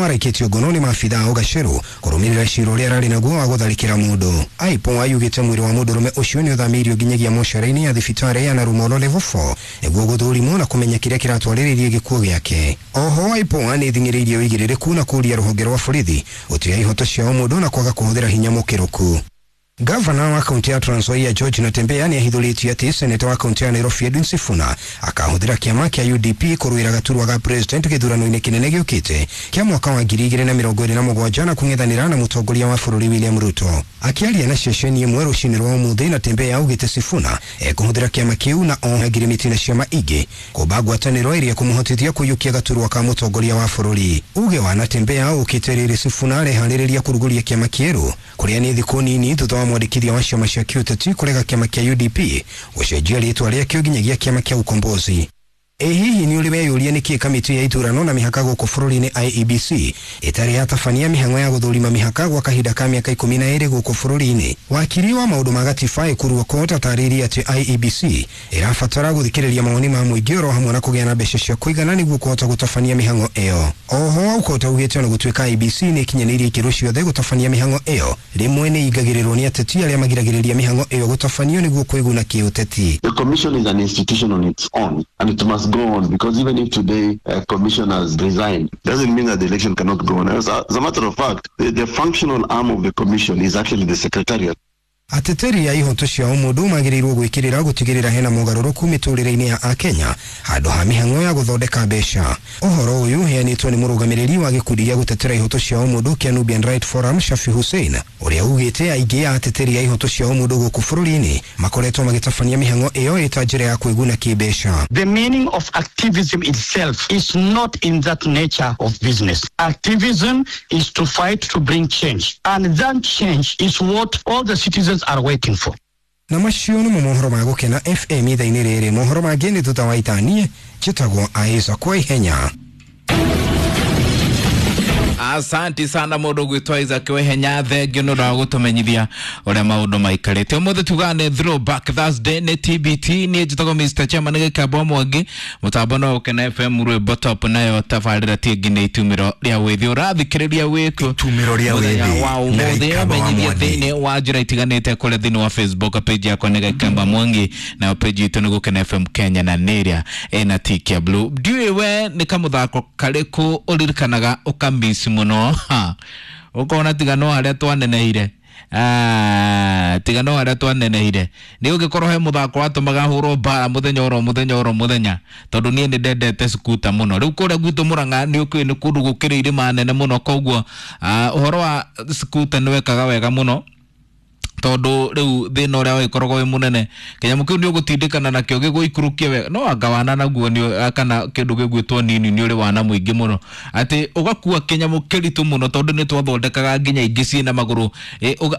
Araikĩtio ngono nĩ maabithaa a Ũgacerũ kũrũmĩrĩra cira ũrĩa ararĩ naguo wa gũtharĩkĩra mũndũ. IPOA yugĩte mwĩrĩ wa mũndũrũme ũcio nĩ ũthamĩirio nginyagia mocarĩ-inĩ ya thibitarĩ ya Narumoro Level 4 nĩguo gũthũrimwo na kũmenya kĩrĩa kĩratwarĩrĩirie gĩkuũ gĩake. Oho IPOA nĩ ĩthing'ĩrĩirie ũigĩrĩrĩku na kũũria rũhonge rwa borithi gũtĩa ihoto cia ũmũndũ na kwaga kũhũthĩra hinya mũkĩrũku. Gavana wa kaunti ya Trans Nzoia George Natembeya nĩ ahithũrĩtie atĩ seneta wa kaunti ya Nairobi Edwin Sifuna akahũthĩra kĩama kĩa UDP kũrũĩra gaturwa ga president gĩthurano-inĩ kĩnene gĩũkĩte kĩa mwaka wa 2027 na kũng'ethanĩra na mũtongoria wa bũrũri William Ruto. Akĩaria na ceceni ĩmwe rũcinĩ rwa ũmũthĩ, Natembeya augĩte Sifuna ekũhũthĩra kĩama kĩu na o ngirimiti na ciama ingĩ kũmba ngwatanĩro ĩrĩa ĩkũmũhotithia kũiyũkia gaturwa ka mũtongoria wa bũrũri. Uge wa Natembeya ũkĩte rĩrĩ Sifuna areharĩrĩria kũrugũria kĩama kĩerũ kũrĩa nĩ thikũ nini thutha wa mwandĩkithia wa ciama cia kĩũteti kũrega kĩama kĩa UDP gũcenjia rĩtwa rĩakĩo nginyagia kĩama kĩa Ukombozi. Ĩ hihi nĩ ũrĩ weyũria nĩkĩ kamĩtĩ ya ithurano na mĩhaka gũkũ bũrũri-inĩ IEBC ĩtarĩ yatabania mĩhang'o ya gũthũrima mĩhaka gwa kahinda ka mĩaka 12 gũkũ bũrũri-inĩ? Wakiri wa maũndũ ma gatiba Ekuru Aukot atarĩirie atĩ IEBC ĩrabatara gũthikĩrĩria mawoni ma mũingĩ oro hamwe na kũgĩa na mbeca cia kũigana nĩguo kũhota gũtabania mĩhang'o ĩyo. Oho Aukot augĩte ona gũtuĩka IEBC nĩ ĩkinyanĩirie ikĩro ciothe gũtabania mĩhang'o ĩyo, rĩmwe nĩ ingagĩrĩrwo nĩ ateti arĩa magiragĩrĩria mĩhang'o ĩyo gũtabanio nĩguo kwĩguna kĩũteti. The commission is an institution on its own and it must go on, because even if today commissioners resign, doesn't mean that the election cannot go on. As a matter of fact, the functional arm of the commission is actually the secretariat. Ateteri a ihoto cia ũmũndũ magĩrĩirwo gwĩkĩrĩra gũtigĩrĩra hena mogarũrũku mĩtũrĩre-inĩ ya Akenya handũ ha mĩhang'o ya gũthondeka mbeca. Ũhoro ũyũ ũheanĩtwo nĩ mũrũgamĩrĩri wa gĩkundi gĩa gũtetera ihoto cia ũmũndũ kĩa Nubian Right Forum Shafi Hussein, ũrĩa ugĩte aingĩ a ateteri a ihoto cia ũmũndũ gũkũ bũrũri-inĩ makoretwo magĩtabania mĩhang'o ĩyo ĩta njĩra ya kwĩguna kĩmbeca. The meaning of activism itself is not in that nature of business. Activism is to fight to bring change, and that change is what all the citizens are waiting for. Na macio nĩmo mohoro ma Gũkena FM ithaa-inĩ rĩrĩ. Mohoro mangĩ nĩ thutha wa ithaa. Njĩtagwo Isaac Waihenya. Asanti sana mũndũ gwĩtwo Isaac Wehenya, thengio nĩ ũndũ wa gũtũmenyithia ũrĩa maũndũ maikarĩte. Ũmũthĩ tugaga nĩ Throwback Thursday, nĩ TBT. Niĩ njĩtagwo Mr Chairman Gĩkamba Mwangi, mũtambo no Gũkena FM, rwĩmbo top nayo tabarĩra ti ĩngĩ nĩ itumĩro rĩa wĩthĩ. Ũrathikĩrĩria wĩkũ Itumĩro rĩa mũthenya wĩthĩ wa na ũmũthĩ, Gĩkamba wa menyithia Mwangi. thĩinĩ wa njĩra itiganĩte kũrĩa thĩinĩ wa Facebook page yakwa nĩ Gĩkamba Mwangi, nayo page itũ nĩ Gũkena FM Kenya na nĩ ĩrĩa ĩna tick ya blue. Ndiũĩ we nĩ kamũthako karĩkũ ũririkanaga ũkamisi mũno, ha ũkona tiga no harĩa twaneneire. Ah, tiga no harĩa twaneneire nĩ ũngĩkorwo he mũthako watũmaga hũrwo mbara mũthenya oro mũthenya oro mũthenya, tondũ niĩ nĩ ndendete skuta mũno. Rĩu kũrĩa gwitũ Mũrang'a nĩ ũkĩũĩ nĩ kũndũ gũkĩrĩ irĩma nene mũno, koguo ũhoro wa skuta nĩ wekaga wega mũno, tondũ rĩu thĩna ũrĩa wagĩkoragwo wĩ mũnene kĩnyamũ kĩu nĩ ũgũtindĩkana nakĩo gĩgũikũrũkie wega, no anga wana naguo nĩ kana kĩndũ gĩgwĩtwo nini nĩ ũrĩ wana mũingĩ mũno atĩ ũgakua kĩnyamũ kĩritũ mũno, tondũ nĩ twathondekaga nginya ingĩ ciĩna magũrũ,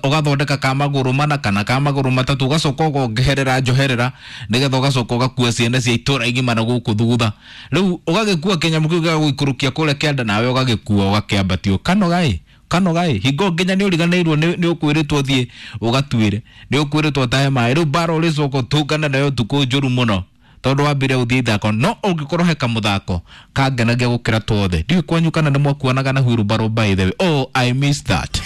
ũgathondeka ka magũrũ mana kana ka magũrũ matatũ, ũgacoka ũkongerera njoherera nĩgetha ũgacoka ũgakua ciana cia itũra igima na gũkũ thutha. Rĩu ũgagĩkua kĩnyamũ kĩu gĩgagũikũrũkia kũrĩa kĩanda, nawe ũgagĩkua ũgakĩambatio kanoga kanoga hingo nginya nĩ ũriganĩirwo nĩ ũkwĩrĩtwo thiĩ ũgatuĩre, nĩ ũkwĩrĩtwo ũtahe maĩ. Rĩu mbara ũrĩcoka ũtũngane nayo ũtukũ njũru mũno, tondũ wambire ũthiĩ ithako. No ũngĩkorwo he kamũthako kangenagia gũkĩra twothe, ndiũĩ kwanyu kana nĩ mwakuanaga na wheelbarrow, by the way. Oh, I miss that.